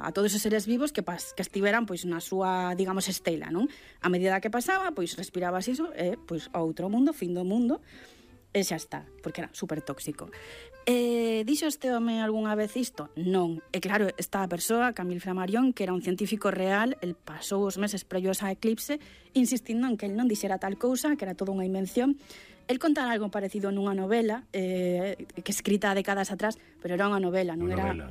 a todos os seres vivos que estiveran pois na súa, digamos, estela, non? A medida que pasaba, pois respirabas iso e pois outro mundo, fin do mundo, e xa está, porque era super tóxico. Dixo este home algunha vez isto? Non. E claro, esta persoa, Camille Flammarion, que era un científico real, el pasou os meses previos a eclipse insistindo en que el non dixera tal cousa, que era toda unha invención. El contara algo parecido nunha novela que escrita décadas atrás, pero era unha novela, non era... Novela.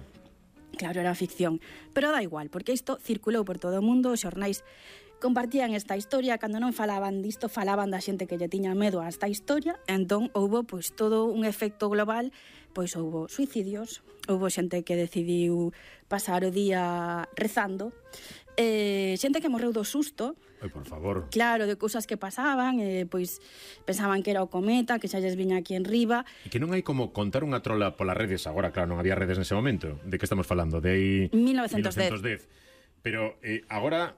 Claro, era ficción. Pero da igual, porque isto circulou por todo o mundo, os xornais compartían esta historia, cando non falaban disto, falaban da xente que lle tiña medo a esta historia, entón houbo pois todo un efecto global, pois houbo suicidios, houbo xente que decidiu pasar o día rezando, xente que morreu do susto. Ai, por favor. Claro, de cousas que pasaban, pois pensaban que era o cometa, que xa lles viña aquí en riba. E que non hai como contar unha trola polas redes, agora claro, non había redes nese momento. De que estamos falando? De 1910. Pero agora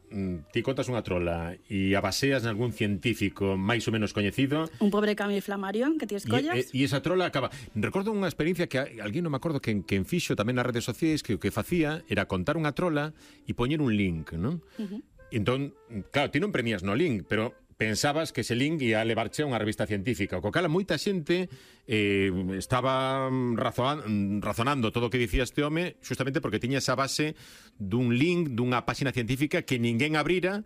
ti contas unha trola e a baseas en algún científico máis ou menos coñecido. Un pobre Camille Flammarion que ti escollas. E esa trola acaba... Recordo unha experiencia que alguén non me acordo que fixo tamén nas redes sociais, que o que facía era contar unha trola e poñer un link, non? Entón, claro, ti non premias no link, pero pensabas que ese link ia levarche a unha revista científica. O co cal moita xente estaba razonando todo o que dicía este home justamente porque tiña esa base dun link dunha páxina científica que ninguén abrira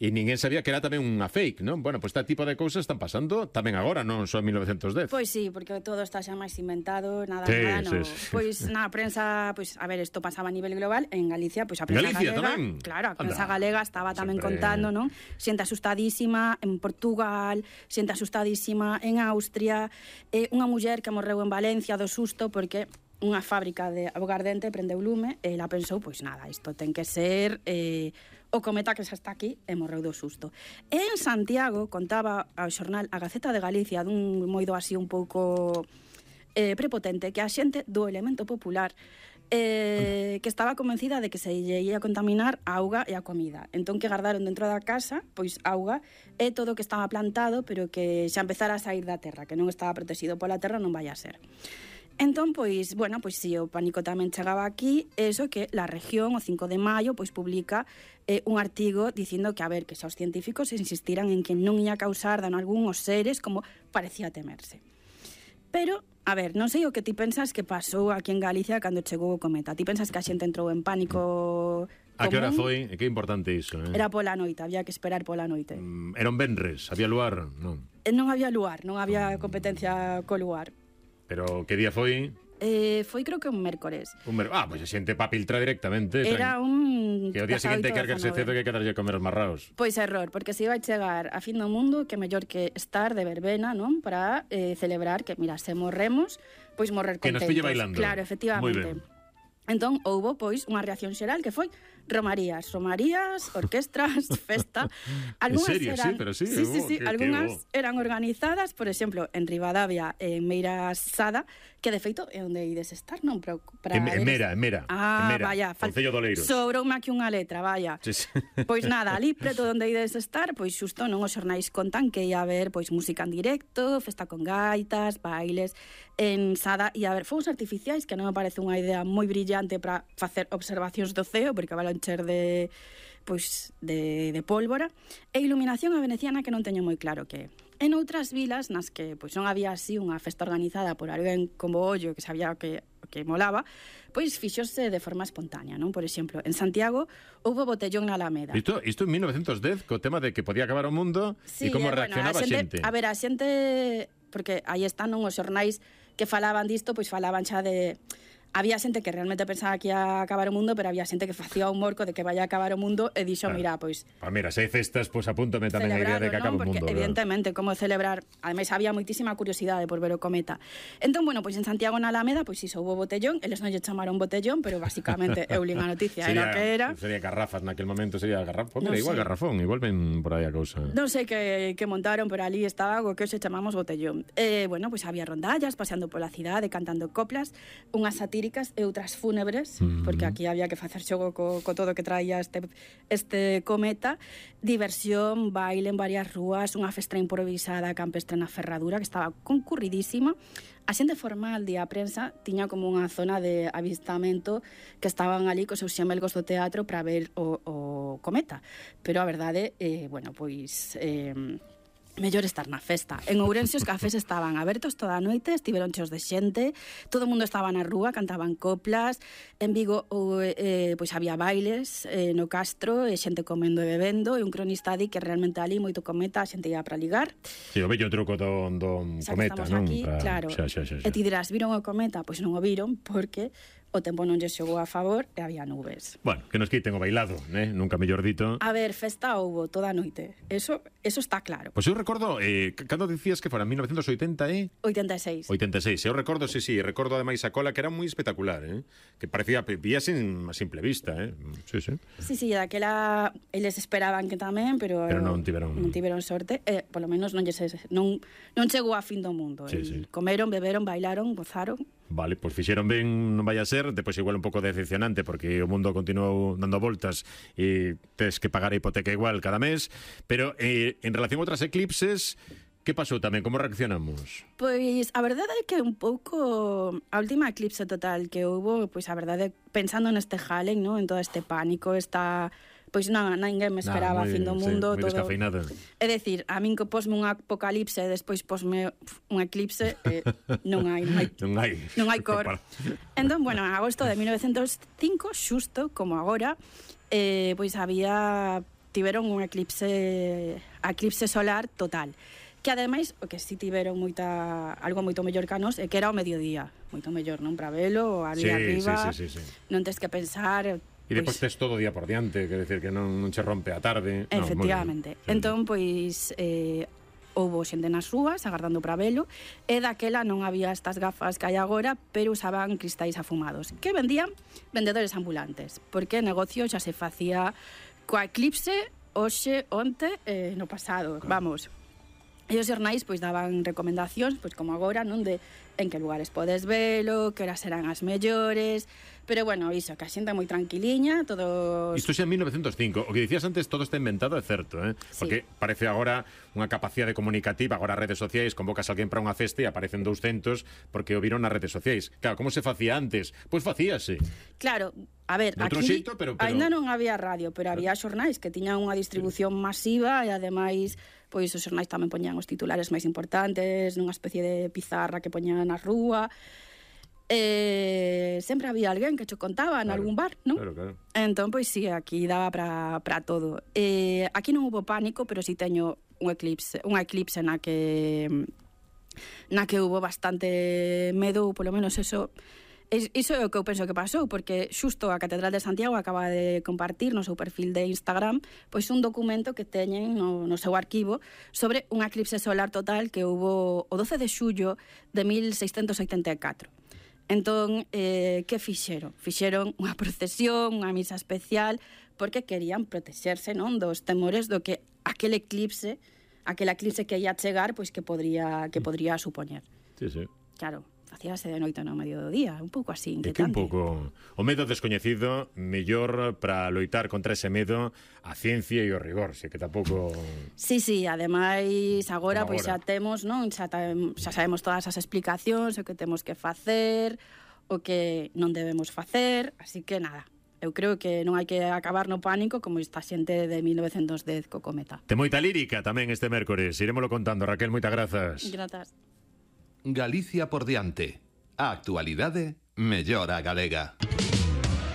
e ninguén sabía que era tamén unha fake, non? Bueno, pois este tipo de cousas están pasando tamén agora, non só en 1910. Pois sí, porque todo está xa máis inventado, nada, sí. Pois na prensa, pois a ver, isto pasaba a nivel global, en Galicia, pois a prensa Galicia galega, tamén? Claro, a prensa galega estaba tamén contando, non? Xente asustadísima en Portugal, xente asustadísima en Austria, unha muller que morreu en Valencia do susto porque unha fábrica de augardente prendeu lume e ela pensou, pois nada, isto ten que ser o cometa que xa está aquí e morreu do susto. E en Santiago contaba ao xornal A Gaceta de Galicia dun moido así un pouco prepotente que a xente do elemento popular que estaba convencida de que se lle ia contaminar a auga e a comida. Entón que guardaron dentro da casa pois auga e todo o que estaba plantado pero que xa empezara a sair da terra, que non estaba protegido pola terra, non vai a ser. Entón, pois, bueno, pois si o pánico tamén chegaba aquí, eso que La Región, o 5 de maio, pois publica un artigo dicindo que, a ver, que xa os científicos insistiran en que non ia causar dano algún os seres como parecía temerse. Pero, a ver, non sei o que ti pensas que pasou aquí en Galicia cando chegou o cometa. Ti pensas que a xente entrou en pánico común? A que hora foi? E que importante iso, Era pola noite, había que esperar pola noite. Era un venres, había luar, non? Non había luar, non había competencia co luar. Pero que día foi? Foi creo que un mércores. Pois a xente pa filtrar directamente. Era un... Que o día seguinte hai que erguerse cedo que hai que darlle a comer os marraos. Pois error, porque se iba a chegar a fin do mundo, que mellor que estar de verbena, non? Para celebrar que, mira, se morremos, pois morrer contentos. Que nos pille bailando. Claro, efectivamente. Entón, houbo, pois, unha reacción xeral que foi romarías, orquestras, festa. Algunhas en serio? Eran, sí, pero sí. Sí, algunhas eran organizadas, por exemplo, en Ribadavia, en Meira Sada, que de feito é onde ides estar, non? Para en Mera. Vaya. Concello de Oleiros. Sobroume aquí unha letra, vaya. Sí. Pois nada, ali preto onde ides estar, pois xusto non os xornais contan que ia haber pois música en directo, festa con gaitas, bailes, en Sada, e a ver, fogos artificiais, que non me parece unha idea moi brillante para facer observacións do ceo, porque van encher de pólvora, e iluminación a veneciana que non teño moi claro que é. En outras vilas nas que pois non había así unha festa organizada por alguén como ollo que sabía que molaba, pois fixose de forma espontánea, non? Por exemplo, en Santiago houbo botellón na Alameda. Isto en 1910, co tema de que podía acabar o mundo e como reaccionaba a xente. A ver, a xente, porque aí están os xornais que falaban disto, pois falaban xa de... Había xente que realmente pensaba que ia acabar o mundo, pero había xente que facía un morco de que vai a acabar o mundo e dixo, mira, pois... Mira, se hai festas, pois apúntame tamén a idea de que acabe o mundo. Porque, evidentemente, como celebrar... Ademais, había moitísima curiosidade por ver o cometa. Entón, bueno, pois en Santiago na Alameda, pois iso, houve botellón, eles non lle chamaron botellón, pero basicamente, eu li a noticia, era o que era. Sería garrafas, naquel momento sería garrafón. Mira, igual garrafón, igual ven por aí a cousa. Non sei que montaron, pero ali estaba algo que hoxe chamamos botellón. Bueno, pois había rondallas, paseando pola cidade, cantando coplas, unha sátira líricas e outras fúnebres, porque aquí había que facer xogo co todo que traía este cometa, diversión, baile en varias rúas, unha festa improvisada campestre na Ferradura, que estaba concurridísima. A xente formal de a prensa tiña como unha zona de avistamento que estaban ali cos seus xemelgos do teatro para ver o cometa. Pero a verdade, bueno, pois... mellor estar na festa. En Ourense os cafés estaban abertos toda a noite, estiveron cheos de xente, todo o mundo estaba na rúa, cantaban coplas. En Vigo pois había bailes no Castro, e xente comendo e bebendo, e un cronista di que realmente ali moito cometa, a xente ia para ligar. Si, o bello truco do cometa, non? Aquí, claro. E ti dirás, viron o cometa? Pois non o viron, porque o tempo non lle xogou a favor e había nubes. Bueno, que nos quiten o bailado, nunca mellor dito. A ver, festa houbo toda a noite. Eso está claro. Pois eu recordo, cando dicías que fora 1980 e... 86. 86. Eu recordo, sí, recordo ademais a cola que era moi espectacular, que parecía, vía a simple vista, Sí, sí. Sí, daquela eles esperaban que tamén, pero non tiveron sorte, polo menos non chegou a fin do mundo. Sí. Comeron, beberon, bailaron, gozaron. Vale, pois fixeron ben, non vai a ser, depois igual un pouco decepcionante porque o mundo continuou dando voltas e tes que pagar a hipoteca igual cada mes, pero en relación a outras eclipses, que pasou tamén? Como reaccionamos? Pois a verdade é que un pouco a última eclipse total que houbo, pois a verdade, pensando neste jalen, ¿no? En todo este pánico, pois ninguén me esperaba a fin do mundo. Moi descafeinada. É dicir, a min que posme un apocalipse e despois posme un eclipse, non hai cor. Entón, bueno, en agosto de 1905, xusto como agora, pois tiveron un eclipse solar total. Que ademais, o que si tiveron algo moito mellor que a nos, é que era ao mediodía. Moito mellor, non? Para velo, ali arriba. Sí. Non tes que pensar... E depois tes todo o día por diante, quer decir que non che rompe a tarde. Efectivamente. Entón, pois, houbo xente nas rúas agardando para velo, e daquela non había estas gafas que hai agora, pero usaban cristais afumados, que vendían vendedores ambulantes, porque o negocio xa se facía coa eclipse hoxe, onte, no pasado, claro. Vamos. E os xornais pois daban recomendacións, pois como agora, non, de en que lugares podes velo, que horas serán as mellores. Pero bueno, iso, que a xente é moi tranquiliña, todos... Isto xa en 1905. O que dicías antes, todo está inventado, é certo, Sí. Porque parece agora unha capacidade comunicativa, agora as redes sociais, convocas a alguén para unha festa e aparecen 200 porque o viron nas redes sociais. Claro, como se facía antes? Pois facíase. Claro, a ver, de outro aquí xeito, pero... ainda non había radio, pero había xornais que tiñan unha distribución masiva e ademais, pois os xornais tamén poñían os titulares máis importantes nunha especie de pizarra que poñían na rúa. Sempre había alguén que cho contaba en algún bar, non? Claro. Entón, pois sí, aquí daba para todo. Aquí non hubo pánico, pero sí teño unha eclipse na que hubo bastante medo, ou polo menos iso é o que eu penso que pasou, porque xusto a Catedral de Santiago acaba de compartir no seu perfil de Instagram pois un documento que teñen no seu arquivo sobre unha eclipse solar total que hubo o 12 de xullo de 1684. Entón, que fixeron? Fixeron unha procesión, unha misa especial, porque querían protexerse, non, dos temores do que aquela eclipse que ia chegar, pois que podría supoñer. Sí. Claro, facíase de noite no medio do día, un pouco así inquietante. É que un pouco o medo descoñecido, mellor para loitar contra ese medo a ciencia e o rigor, se que tampouco... Sí, ademais agora pois xa temos, non? Xa sabemos todas as explicacións, o que temos que facer, o que non debemos facer, así que nada. Eu creo que non hai que acabar no pánico como esta xente de 1910 co cometa. Ten moita lírica tamén este mércores, irémolo contando. Raquel, moitas grazas. Grazas. Galicia por diante. A actualidade mellora a galega.